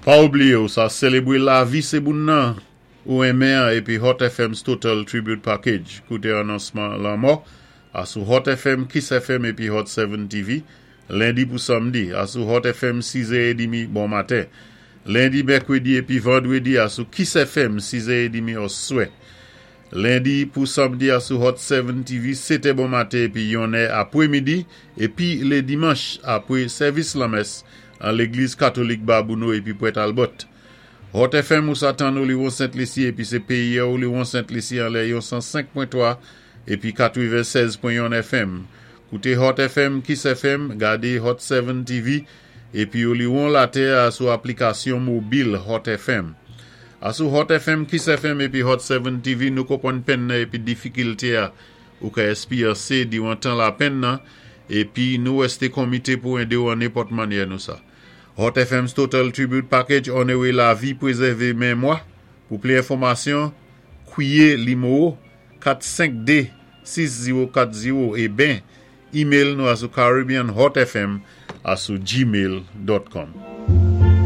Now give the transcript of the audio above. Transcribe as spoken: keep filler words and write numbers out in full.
Pa oubliyé ou sa sélébwé lavi sé boun nan ou enmen épi Hot F M's Total Tribute Package. Kouté anonsman lanmò asou Hot F M, Kiss F M épi Hot sept T V, lendi pou samdi, asou Hot F M sis è edmi bon maten. Lendi, mèkwédi épi vandwédi asou Kiss F M sis è edmi oswè. Lendi pou samdi asou Hot sept T V sèt è bon maten épi yon è apwé midi épi lé dimanch apwé sèvis lanmès an légliz katolik Babouno épi Pwèt Albert. Hot F M ou sa tann Oliwon Sent Lisi épi sé péyi Oliwon Sent Lisi anlè yon san senk pwen twa épi katwennsèz pwen yon F M. Kouté Hot F M, Kiss F M, gadé Hot sept T V épi Oliwon Latè sou aplikasyon mobil Hot F M. Asou Hot F M, Kiss F M épi Hot sept T V, nou konpwann penn nan épi difikilté a ou ka éspéryansé diwan tan lapenn nan épi nou wèsté komité pou édé ou an nenpòt mannyè nou sa. Hot F M's Total Tribute Package onowé lavi, pwézèvé mémwa. Pou plis enfòmasyon, kwiyé nimewo kat senk de sis zewo kat zewo é ben email nou asou caribbeanhotfm asou gmail dot com.